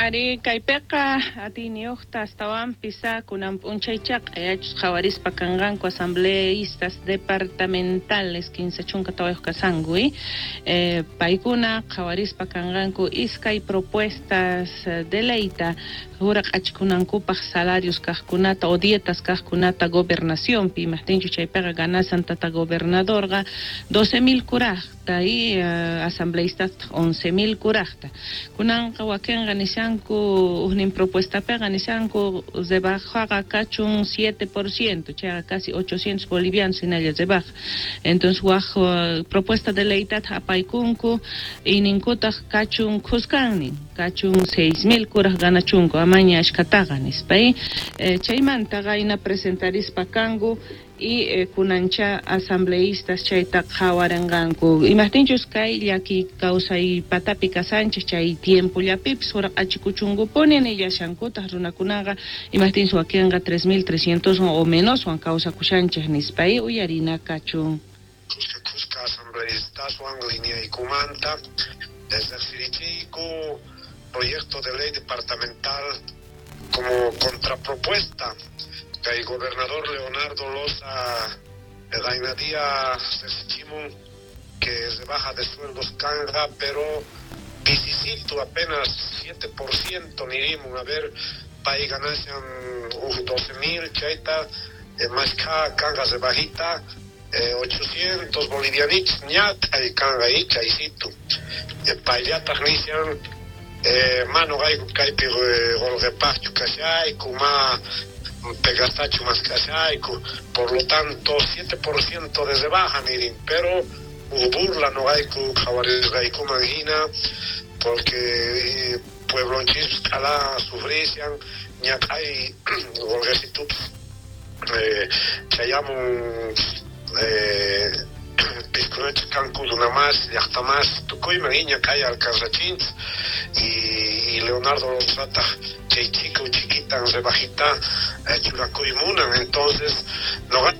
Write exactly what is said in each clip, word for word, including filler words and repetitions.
Ari kaypiqa atiyniyuqta astawanpis kunan p'unchaychaqa q'ayachus qhawarispa kanqanku asambleístas departamentales kinsa chunka tawayuq kasanku eh, paykuna qhawarispa kanqanku iskay propuestas de leyta huraq'achikunankupaq salarios kaqkunata o dietas kaqkunata gobernacionpi imaqtinchu chaypiqa ganasan tata gobernadorqa doce mil kuraqta y uh, asambleístas once mil kuraqta kunanqa wakinqa nishanku ujnin propuestapiqa nishanku rebajaqa kachun siete por ciento chayqa casi ochocientos bolivianos hinalla rebaja. Entonces waj uh, propuesta de leytata apaykunku y ninkutaq kachun khuskannin kachun seis mil kuraq ganachunku amaña ashkataqa nispa y eh, chaymantaqa ina presentarispa kanku y eh, kunancha asambleístas chayta qhawarinqanku imaqtinchus kay llaki kawsay patapi kasanchis chay tiempollapipis huraq'achikuchunkupuni nillashankutaq runakunaqa imaqtinchus wakinqa tres mil trescientos o menoswan kawsakushanchik nispa y uyarina kachun. Khuska khuska asambleístaswan lineaykumanta riqsirichiyku proyecto de ley departamental como contrapropuesta que el gobernador Leonardo Loza Gainadía riqsichimun que rebaja de sueldos kanga, pero pisisito apenas siete por ciento nirimun, a ver, pay ganashan doce mil chayta, eh, más ka kanga rebajita, eh, ochocientos bolivianitos ñata y kanga y chaysito. Eh, payllataj nishan, eh, mano gayku kaypi qolqepaqchu kashayku, ma pegastachu más kashayku, por lo tanto siete por ciento de rebaja nirin, pero burla no gayku qhawarisqaykuman hina, porque eh, pueblonchis k'ala sufrisian ñak'ay qolqesitupis eh, chayamun eh, piskunachis kanku runamas llaqtamas tukuyman y ñak'ay alcanzachinchis y, y Leonardo Lozataq chay chico chiquitan rebajita eh, churakuy munan, entonces no.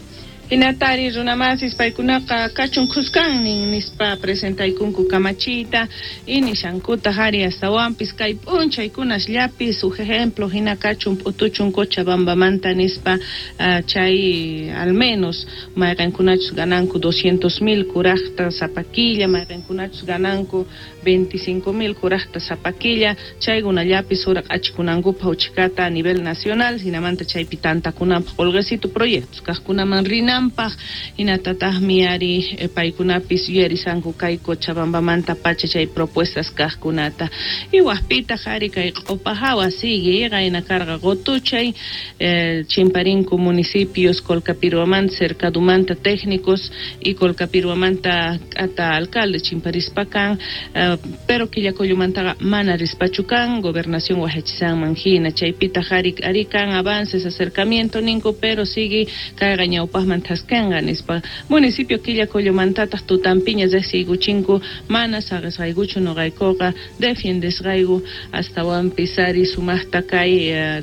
Hinatari runamasis paykunaqa kachun khuskannin nispa presentaykunku kamachiyta y nishankuta hari astawanpis kay p'unchaykunasllapis uj ejemplo hina kachun p'utuchun Cochabambamanta nispa uh, chay al menos mayqinkunachus gananku doscientos mil kuraqta sapa killa mayqinkunachus gananku veinticinco mil kuraqta sapa killa chaykunallapis huraq'achikunankupaq uchikata a nivel nacional hinamanta chaypi tantakunanpaq qolqesito proyectos kaqkunaman rina paj hinatataqmi ari eh, paykunapis yuyarisanku kay Cochabambamanta pacha chay propuestas kaqkunata y wajpitaq ari kay q'upa hawa sigue qayna karqa qutuchay eh, chimparinku municipios Colcapiruamanta Cercadumanta técnicos y Colcapiruamanta k'ata alcalde chimparispa kan eh, pero Quillacollomantaqa mana rispachu kan gobernación wajachisanman hina chaypitaq ari ari kan avances acercamiento ninku pero sigue kayqa ñawpaqman thaskanqa nispa municipio Quillacollomantataq tutampiña riqsiykuchinku mana saqisqaykuchu nuqaykuqa defiendesqayku astawanpis ari sumaqta kay eh,